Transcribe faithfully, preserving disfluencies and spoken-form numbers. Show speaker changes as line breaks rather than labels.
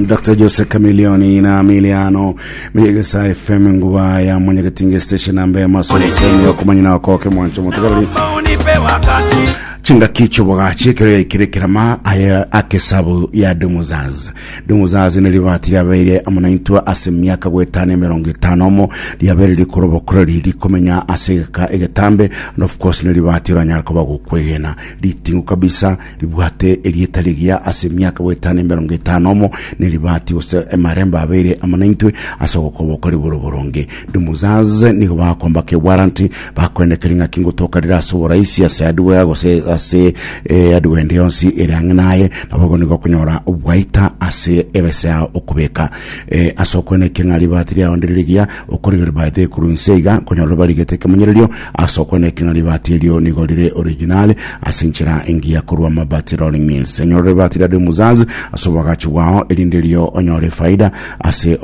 Doctor Jose Chameleone na Miliano Miyegesa F M, nguba ya Mwanyagetinge station nambe masomo yokumanyina okoke mwancho mutugaruri.
Unipe wakati.
Chingaki chibogachi ekero yaikire kerama aya akesabu ya Dumuzaz. Dumuzaz ni ribati riabeire amo naintwe ase emiaka gwetana emerongo etano omo, riabeire rikorobokora riri komenya ase egeka egetambe, and of course ni ribati oranyara koba gokwegena ritingu kabisa, ribwate erieta rigiya ase emiaka gwetana emerongo etano omo. Ni ribati gose emarembo abeire amo naintwe ase ogokoboko riboro boronge. Dumuzaz nigo bakomba ke warranty, bakwendekeri ng'aki ngotoka rire ase oboraisi ase hardware gose ase eh, hardware ende yonsi ere ang'e naye. Nabo nigo okonyora obwaita ase ebesa yao okobeka eh, ase okweneke ng'a ribati riao ndire rigiya okorigeri baete korwa inse iga konyora barigete ekemanyererio ase okweneke ng'a ribati erio nigo rire original ase enchera engiya korwa Mabati Rolling Mills. Enyora ribati ria Dumuzaz ase obwagachi bwao erinde rio onyore faida ase.